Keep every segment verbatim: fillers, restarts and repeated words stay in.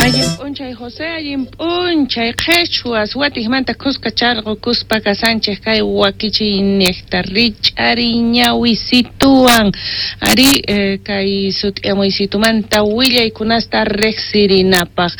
Allin p'unchay José, allin p'unchay qhichwas watikmanta kuska charqukuspa kasanchik kay wakichiyniyta rich'ariñawisituwan ari eh, kay sut'iyamuysitumanta willaykunasta riqsirinapaq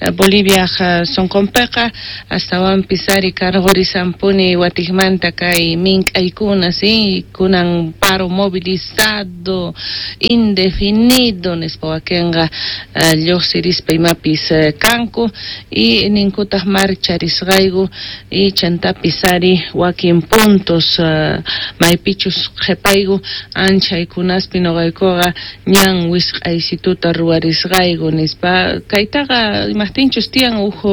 eh, Bolivia sunqunpiqa astawanpis ari karqurisanpuni watikmanta kay mink'aykuna si kunan paro movilizado indefinido nispa wakinqa eh, lluqsirispa imapis kanku y ninkutaq marcharisqayku y chantapis ari wakin puntos uh, maypichus qhipayku anchaykunaspi nuqaykuqa ñan wisq'aysituta ruwarisqayku nispa kaytaqa imaqtinchus tiyan uj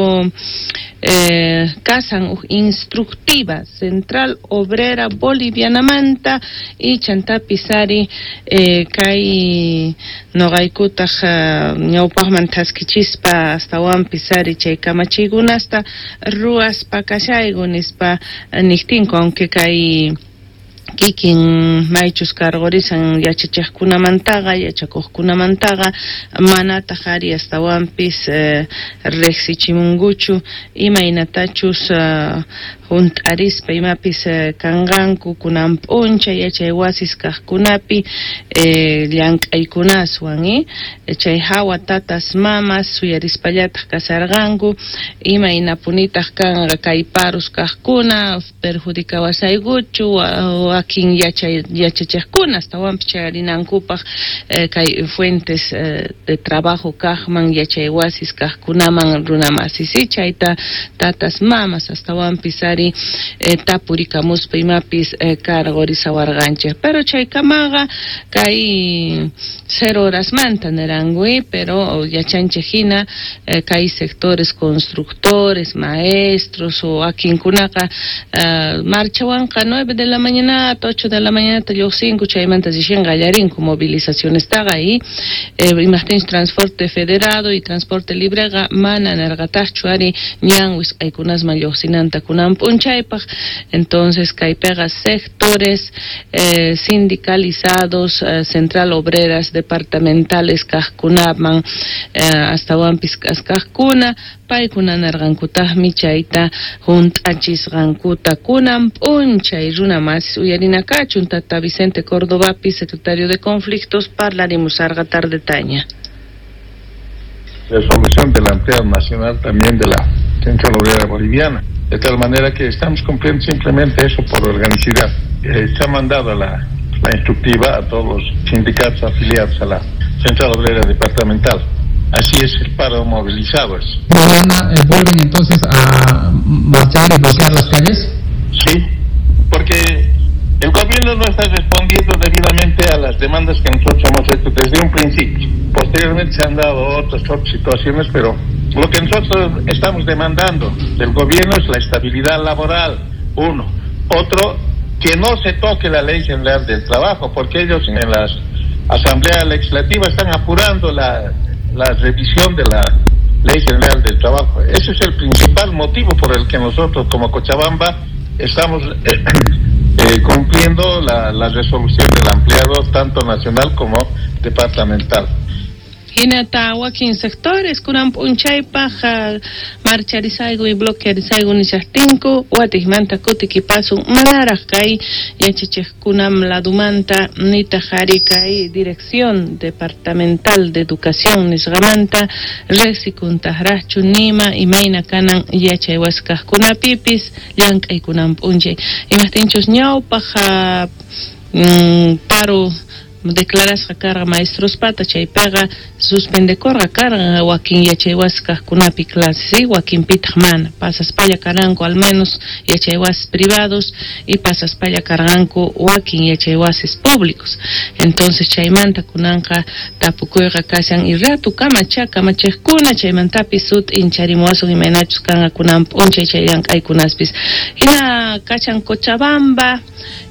eh, kasan uj instructiva Central Obrera Bolivianamanta y chantapis ari eh, kay nuqaykutaq uh, ñawpaqman thaskichispa astawanpis ari chay kamachiykunasta ruwaspa kashayku nispa niqtinku aunque kay kikin maychus karqurisan yachachiqkunamantaqa yachakuqkunamantaqa manataq ari astawanpis eh, riqsichimunkuchu imaynatachus uh, hunt'arispa imapis eh, kanqanku kunan p'unchay yachay wasis kaqkunapi eh, llank'aykunaswan eh? Chay hawa tatas mamas suyarispallataq kasarqanku imaynapunitaq kanqa kay paros kaqkuna perjudicawasaykuchu wakin yachay yachachiqkuna astawanpis chayarinankupaq eh, kay fuentes eh, de trabajo kaqman yachay wasis kaqkunaman runamasis chayta tatas mamas astawanpis ari eh, tapurikamuspa imapis eh, karqurisawarqanchik pero chaykamaqa kay cero horasmanta niranku pero yachanchik hina eh, kay sectores constructores, maestros o wakinkunaqa uh, marchawanqa nueve de la mañana ocho de la mañana lluqsinku chaymanta rixin qallarinku movilizacionestaqa y eh, imaqtinchus transporte federado y transporte libreqa mana nirqataqchu ari ñan wisq'aykunasman lluqsinanta kunan p'unchaypaq entonces kaypiqa sectores eh, sindicalizados eh, central obreras departamentales kaqkunaman eh, astawanpis kaqkuna paykuna nirqankutaqmi chayta hunt'achisqankuta kunan p'unchay runa masis uyarinakachun tata Vicente Cordobapi secretario de Conflictos parlarimusarqa tardetaña. Resolución de la Empleado Nacional también de la Central Obrera Boliviana, de tal manera que estamos cumpliendo simplemente eso por organicidad. Eh, se ha mandado la, la instructiva a todos los sindicatos afiliados a la Central Obrera Departamental. Así es el paro movilizado. ¿Mañana eh, vuelven entonces a marchar y bloquear las calles? Sí, porque el gobierno no está respondiendo debidamente a las demandas que nosotros hemos hecho desde un principio. Posteriormente se han dado otras, otras situaciones, pero lo que nosotros estamos demandando del gobierno es la estabilidad laboral, uno. Otro, que no se toque la Ley General del Trabajo, porque ellos en las asambleas legislativas están apurando la, la revisión de la Ley General del Trabajo. Ese es el principal motivo por el que nosotros como Cochabamba estamos eh, eh, cumpliendo la, la resolución del empleado tanto nacional como departamental. Hinata wakin sectores kunan p'unchaypaq marcharisayku y bloquearisayku nishaqtinku watikmanta kutikipasun manaraq kay yachachiqkunam ladumanta nitaq ari kay Dirección Departamental de Educación nisqamanta riqsikuntaqraqchu nima imayna kanan yachay wasi kaqkunapipis llank'aykunan p'unchay imaqtinchus ñawpaq mm, paro declarasqa karqa maestruspata chaypiqa suspendekurqa karqa wakin yachay wasi kaqkunapi clases ¿sí? Wakinpitaq mana pasaspalla karanku al menos yachay wasis privados y pasaspalla karqanku wakin yachay wasis públicos entonces chaymanta kunanqa tapukuyqa kashan y ratu kamacha kamachiqkuna chaymantapis sut'incharimuwasun imaynachus kanqa kunan p'unchay chay llank'aykunaspis hina kachan Cochabamba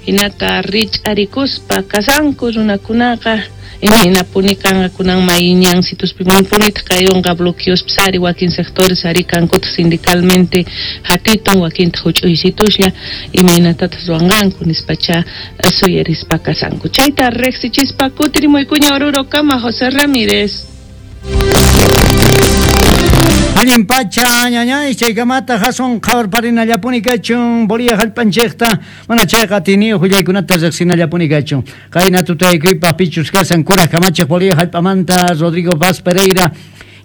hinata rich'arikuspa kasanku runakunaqa imaynapuni kanqa kunan mayñansituspi manpunitaq kayunqa bloqueospis ari wakin sectores ari kankutaq sindicalmente hatitun wakintaq huch'uysituslla imaynatataq ruwanqanku nispacha suyarispa kasanku chayta riqsichispa kutirimuykuña Oruro kama José Ramírez. Allin pacha ñañay chaykamata hasun qhawarparinallapuni kachun Bolivia hallp'anchikta mana chayqa atiniyuq willaykunata riqsinallapuni kachun qayna tutaykuypaq pichus kasan kuraq kamachiq Bolivia hallp'amanta Rodrigo Vaz Pereira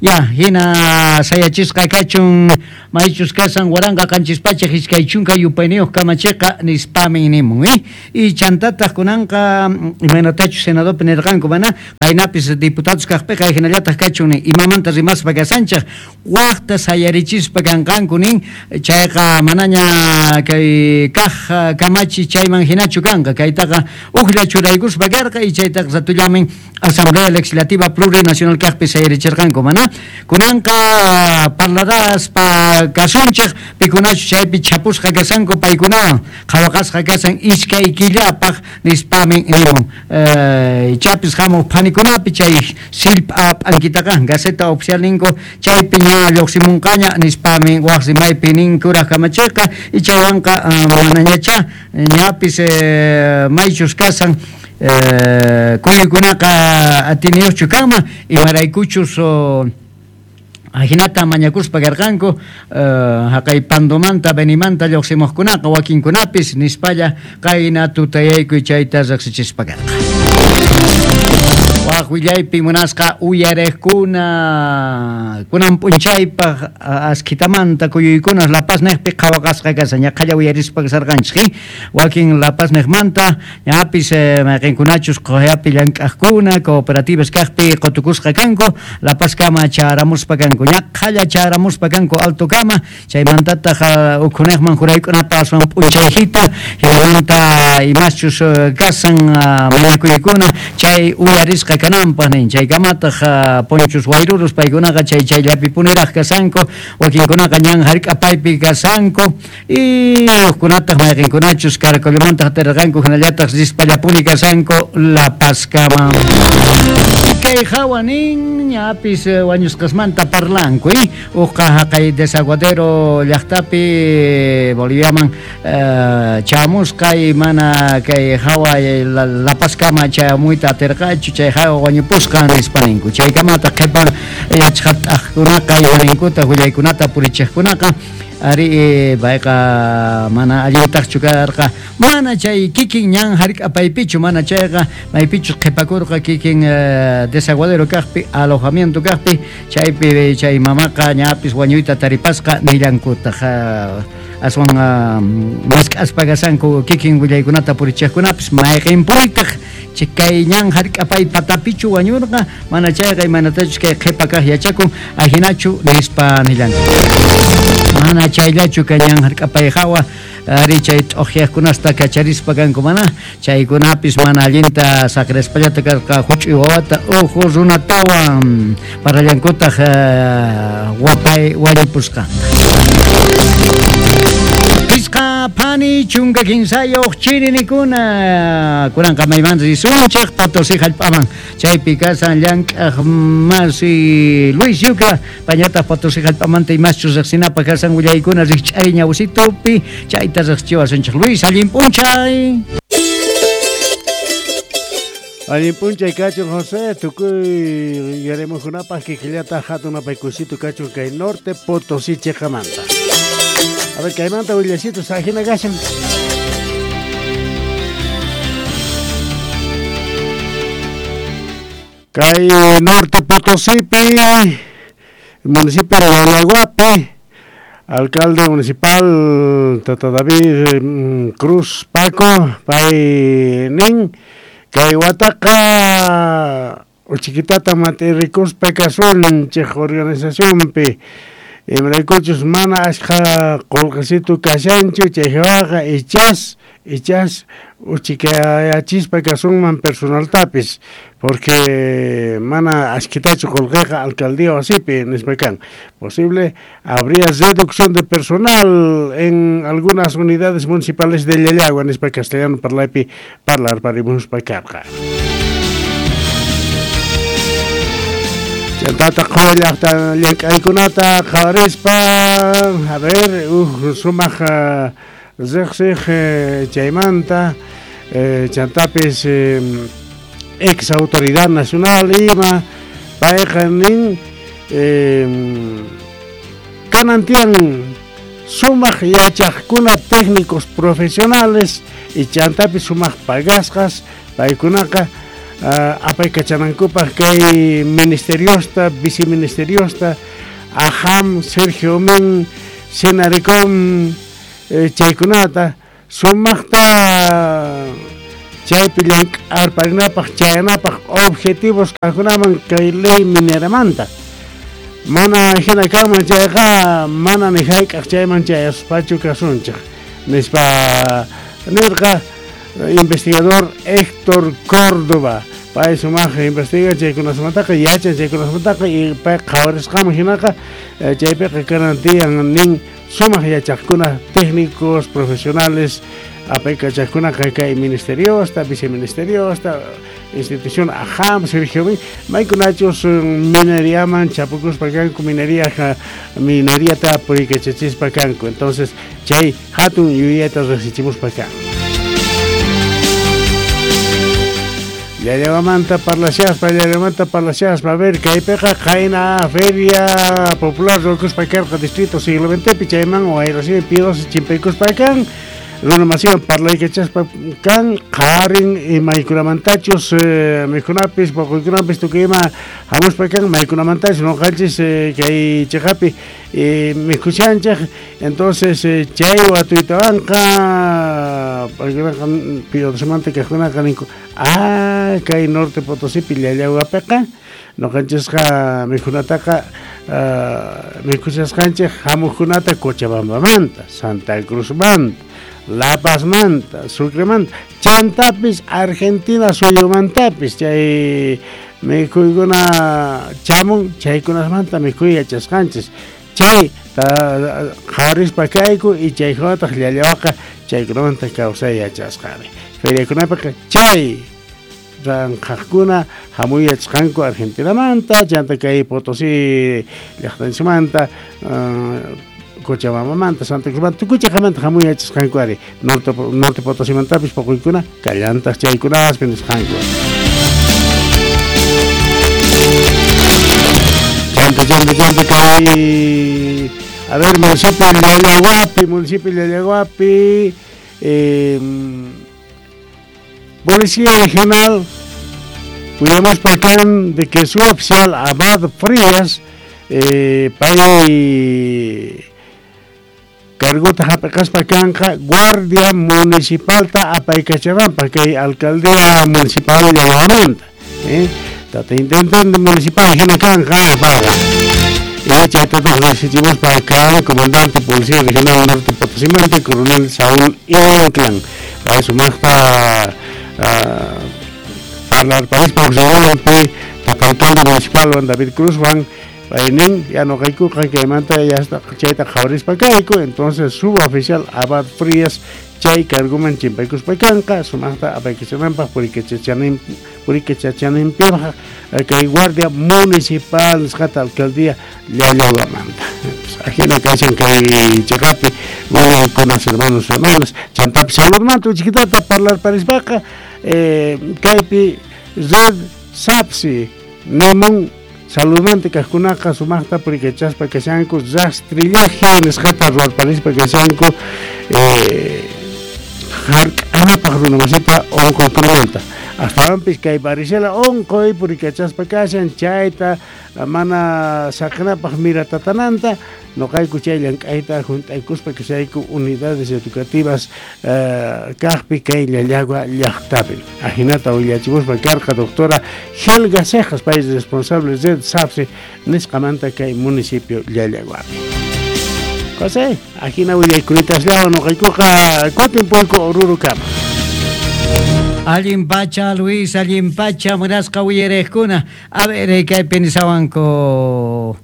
ya hina sayachisqa kachun maychus kasan waranqa qanchis pachak iskay chunka yupayniyuq kamachiqa nispamin nimun eh? Y chantataq kunanqa imaynatachus senadopi nirqanku mana qaynapis diputados kaqpiqa hinallataq kachun nin imamanta rimaspa kasanchaq waqta sayarichispa kanqanku nin chayqa manaña kay kaq kamachi chayman hinachu kanqa kaytaqa uqlla churaykuspa karqa y chaytaqa ratullamin Asamblea Legislativa Plurinacional kaqpi sayarichirqanku mana kunanqa parlaraspa kasunchik pikunachu chaypi chapusqa kasanku paykunawan qhawaqasqa kasan iskay killapaq nispamin nimun eh, chapis hamuq phanikunapi chay sillp'a p'ankitaqa Gaceta Oficial ninku chaypi ña lluqsimunqaña nispamin waq rimaypi nin kuraq kamachiqa y chaywanqa manañacha ñapis eh, maychus kasan Eh, kuykunaqa atiniyuqchu kanman imaraykuchus ajinata mañakuspa karqanku haqay Pandomanta Benimanta lluqsimuqkunaqa wakinkunapis nispalla qayna tutayaykuy chayta riqsichispa karqa. Waq willaypi munasqa uyariqkuna kunan p'unchaypaq askitamanta kuyuykuna La Paz niqpi qhawaqasqa kasan ñaqhalla uyarispa kasarqanchik wakin La Paz niqmanta ñapis mayqinkunachus quyapi llank'aqkuna cooperativas kaqpi qutukusqa kanku La Paz kama charamuspa kanku ñaqhalla charamuspa kanku alto kama chaymantataq ukhuniqman juraykunapa aswan p'unchayhita hinamanta imaschus kasan mañakuykuna chay uyarisqa kananpaq nin chaykamataq ponchus wayrurus paykunaqa chay chayllapipuniraq kasanku wakinkunaqa ñan hark'apaypi kasanku y hukkunataq mayqinkunachus Caracolomanta hatarqanku hinallataq rispallapuni kasanku La Pazkama. Kay hawa nin ñapis wañusqasmanta parlanku eh? Uqqa haqay Desaguadero llaqtapi Boliviaman uh, chamusqa y mana kay hawa La, La Pazkama chamuyta atirqachu chay hawa wañupusqa nispa ninku chaykamata qhipan yachaqat'aqkunaqa imaninkuta willaykunata purichiqkunaqa ari payqa mana allintaqchu karqa mana chay kikin ñan hark'apaypichu mana chayqa maypichus qhipakurqa kikin Desaguadero kaqpi alojamiento kaqpi chaypi chay mamaqa ñapis wañuyta taripasqa nillankutaq aswan mask'aspa kasanku kikin willaykunata purichiqkunapis mayqinpuytaq kay ñan hark'apay patapichu wañurqa mana chayqa imanatachus kay qhipa kaq yachakun ajinachu nispa nillanku mana chayllachu kay ñan hark'apay hawa ari chay t'uqyaqkunasta kacharispa kanku mana chaykunapis mana allinta saqrispallata karqa huch'uy wawata uhu runatawan parallankutaq wapay wañupusqanta. Pisqa phani chunka kinsayuq chirinikuna kunanqa maymanta risunchik Potosí hallp'aman chaypi kasan llank'aq masi Luis Yuca pañataq Potosí hallp'amanta imaschus riqsinapaq kasan willaykuna rikch'ay ñawsitupi chayta riqsichiwasunchik. Luis, allin p'unchay. Allin p'unchay kachun José, tukuy yaremuqkunapaq kikillata hatun apaykusito kachun kay norte Potosí chiqamanta. A ver, kaymanta willasitos ajina kashan. Kay norte Potosípi, municipio de Guanajuato, alcalde municipal Tata David Cruz Paco, pay nin, kay wataqa uchiquitata matirikuspa kasun chej organizacionpi. Imaraykuchus mana ashqa qullqisitu kashanchu chaywaqa ichas ichas uchikayachispa kasunman personaltapis porque mana ashkitachu qullqiqa alcaldía wasipi nispa kan posible habría reducción de personal en algunas unidades municipales de Llallagua nispa castellano parlaypi parlar parimuspa karqa. Chantata qhullaqta llank'aykunata qhawarispa a ver uj sumaq riqsiq chaymanta chantapis ex autoridad nacional ima payqa nin Kanan tiyan sumaq yachaqkuna técnicos profesionales y chantapi sumaq pagasqas paykunaqa uh, apaykachanankupaq kay ministeriosta, viceministeriosta, AJAM, Sergio Men, Senarecom, eh, chaykunata sumaqta chaypi llank'arparinapaq chayanapaq objetivos kaqkunaman kay ley mineramanta mana hina kanman chayqa mana ni hayk'aq chayman chayaspachu kasunchik nispa nirqa investigador Héctor Córdoba pay sumaq investiga chaykunasmantaqa yachan chaykunasmantaqa y pay qhawarisqaman hinaqa chaypiqa kanan tiyan nin sumaq yachaqkuna técnicos profesionales apaykachaqkunaqa kay ministeriosta, viceministeriosta, institución AJAM, Sergio B, maykunachus mineriaman chapukuspa kanku minería mineriata purikachachispa kanku. Entonces chay hatun yuyayta riqsichimuspa kan. Llallawamanta parlashaspa, llallawamanta parlashaspa, a ver, kaypiqa qayna feria popular ruwakuspa karqa distrito siglo veintepi chayman wayrasimi pidosi chimpaykuspa kan runa masiwan parlaykachaspa kan qarin maykunamantachus eh, mikhunapis poqoykunapis tukuy ima hamuspa kan maykunamantachus noqanchis eh, kay chiqapi eh, mikhushanchik. Entonces eh, chay watuytawanqa paykunaqa pidosimanta kaqkunaqa ninku ah kay Norte Potosipi llallawapiqa noqanchisqa mikhunataqa uh, mikhushasqanchik hamuqkunata Cochabambamanta, Santa Cruzmanta, La Pazmanta, Sucremanta, chantapis Argentina suyumantapis chay mikhuykuna chamun chaykunasmanta mikhuy yachasqanchis chay qhawarispa kayku y chaykunataq llallawaqa chaykunamanta kawsay yachasqani feriakunapiqa chay ranqaqkuna hamuy yachasqanku Argentinamanta chanta kay Potosí llaqtanchikmanta uh, Cochabambamanta, Santa Cruzmanta, tukuy chaqamanta hamuy yachasqanku ari Norte, Norte Potosimantapis poquykuna kallantaq chaykunaspi nisqanku. Chanta, chanta, chanta kay a ver, municipio de Llallahuapi, municipio de Llallahuapi, eh, Policía Regional, cuidamos por acá de que su oficial Abad Frías, eh, pay cargota jap'aqaspa kanqa Guardia Municipalta apaykachananpaq kay alcaldía municipal Llallahuamanta, eh tata intendente municipal hina kanqa paqa y chaytataq riqsichimuspa acá comandante Policía Regional Norte Potosimanta coronel Saúl Inclán pay sumaqta parlarparispa uqriwanpi tata alcalde municipal Juan David Cruz Juan paynin ya noqaykuqa kaymanta ya chayta qhawarispa kayku. Entonces suboficial Abad Frías chay carguman chimpaykuspa kanqa sumaqta apaykachananpaq purikachachananpaq purikachachananpaq kay Guardia Municipal nisqata alcaldía Llallahuamanta. Ajina kashan kay chiqapi con hermanos hermanas chantapis saludmanta uchikitata parlarparispaqa eh, kaypi red SAPSI nimun saludmanta kaqkunaqa sumaqta purikachaspa kashanku rastrillaje nisqata ruwarparispa kashanku eh, hark'anapaq runa masita unquykunamanta astawanpis kay varicela unquy purikachaspa kashan chayta mana saqinapaq miratatananta noqayku chay llank'ayta hunt'aykuspa kashayku unidades educativas uh, kaqpi kay Llallagua llaqtapi ajinata willachimuspa karqa doctora Helga Cejas pay responsable red SAPSI nisqamanta kay municipio Llallaguapi. José, ajina willaykunitaslawan noqaykuqa kutin puyku Orurukama. Allin pacha, Luis, allin pacha, munasqa willarejkuna. A ver, kaypi nisawanku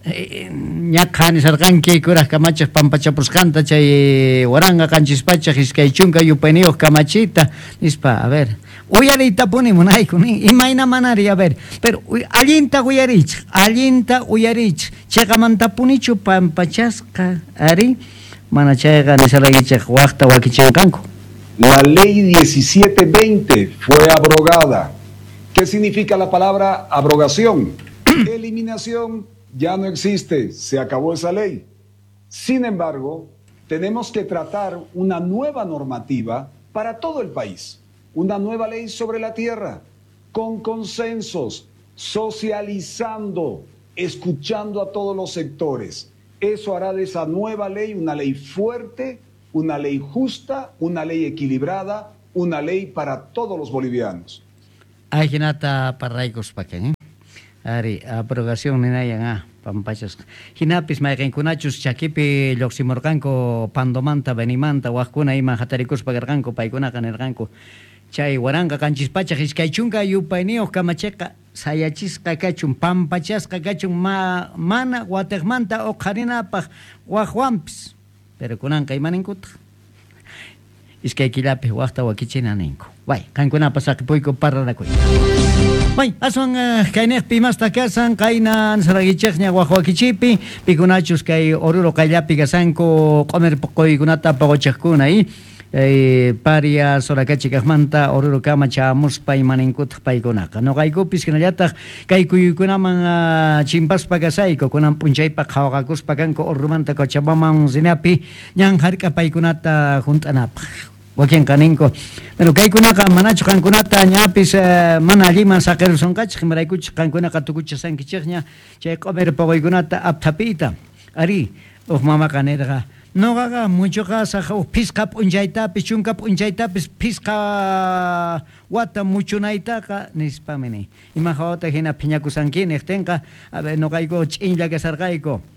ñaqa nisarqanki kuraj kamachaq pampachapusqanta chay waranqa qanchis pachaq iskay chunka yupayniyuq kamachita nispa, a ver, uyariytapuni munayku nin imayna manari, a ver, pero allinta uyarichik, allinta uyarichik, chayqamantapunichu pampachasqa ari, mana chayqa nisaraykichik waqta wakichinqanku. La ley diecisiete veinte fue abrogada. ¿Qué significa la palabra abrogación? Eliminación. Ya no existe, se acabó esa ley. Sin embargo, tenemos que tratar una nueva normativa para todo el país, una nueva ley sobre la tierra, con consensos, socializando, escuchando a todos los sectores. Eso hará de esa nueva ley una ley fuerte, una ley justa, una ley equilibrada, una ley para todos los bolivianos. Ajinata parlaykuspakan, eh? Ari, abrogación ninayan ah, pampachasqa. Hinapis mayqinkunachus chakipi lluqsimurqanku Pandomanta, Benimanta, waqkuna ima hatarikuspa karqanku, paykunaqa nirqanku. Chay waranqa qanchis pachaq iskay chunka yupayniyuq kamachiqa sayachisqa kachun, pampachasqa kachun, ma, mana watiqmanta uqharinapaq waqwanpis. Pero kunanqa imaninkutaq? Iskay killapi waqta wakichina ninku. Bay, qankunapas saqipuyku parlanakuy. Bay, aswan uh, kayniqpi imasta kasan, qayna saragichikña waq wakichipi, pikunachus kay Oruro qayllapi kasanku q'umir puquykunata puquchiqkuna, y eh, paria Soracachi kaqmanta Oruro kama chamuspa imaninkutaq paykunaqa. Noqaykupis hinallataq kay kuyuykunaman uh, chimpaspa kasayku, kunan p'unchaypaq qhawaqakuspa kanku Orurumanta Cochabambaman rinapi ñan hark'a paykunata hunt'anapaq. Wakinqa ninku, pero kaykunaqa manachu qankunata ñapis uh, mana alliman saqirusonqachik, imaraykuchik qankunaqa tukuchasankichikña chay q'umir puquykunata apthapiyta. Ari, uj mamaqa nirqa, noqaqa muchuqasaq uj phisqa p'unchaytapis, chunka p'unchaytapis phisqa wata muchunaytaqa nispami ni. Ima hawata hina phiñakusanki niqtinqa, a ver, noqayku ch'inlla kasarqayku.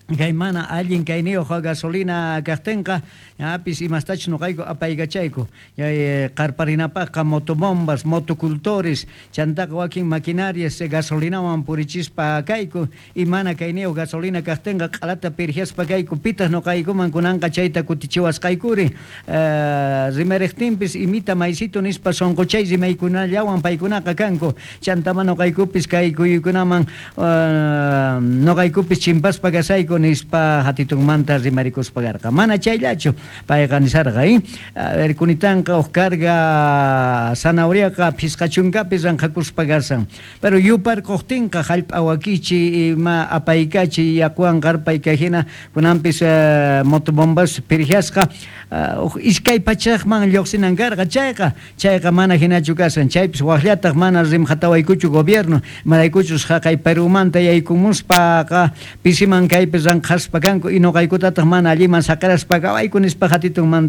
Kay mana allin kayniyuq gasolina kaqtinqa, ñapis imastachus noqayku apaykachayku. Chay qarparinapaqqa motobombas, motocultores, chantaqa wakin maquinarias gasolinawan purichispa kayku, y mana kayniyuq gasolina kaqtinqa q'alata pirjiaspa kayku, pitaq noqaykuman kunanqa chayta kutichiwasqaykuri. Uh, rimariqtinpis imita maysito nispa sunquchay rimaykunallawan paykunaqa kanku. Chantama noqaykupis kay kuyuykunaman uh, noqaykupis chimpaspa kasayku nispa hatitunmanta rimarikuspa karqa. Mana chayllachu payqa nisarqa, eh? A ver, kunitanqa uj carga zanahoriaqa phisqa chunkapi ranqhakuspa kasan. Pero yuparquqtinqa hallp'a wakichi ima apaykachi yakuwan qarpayka hina kunanpis uh, motobombas pirjiasqa uh, uj iskay pachaqman lluqsinan karqa chayqa, chayqa mana hinachu kasan. Chaypis waqllataq mana rimqatawaykuchu gobierno, imaraykuchus haqay Perumanta yaykumuspaqa pisiman kaypi ranqhaspa kanku y noqaykutataq mana alliman saqiraspa kawayku nispa hatitunmanta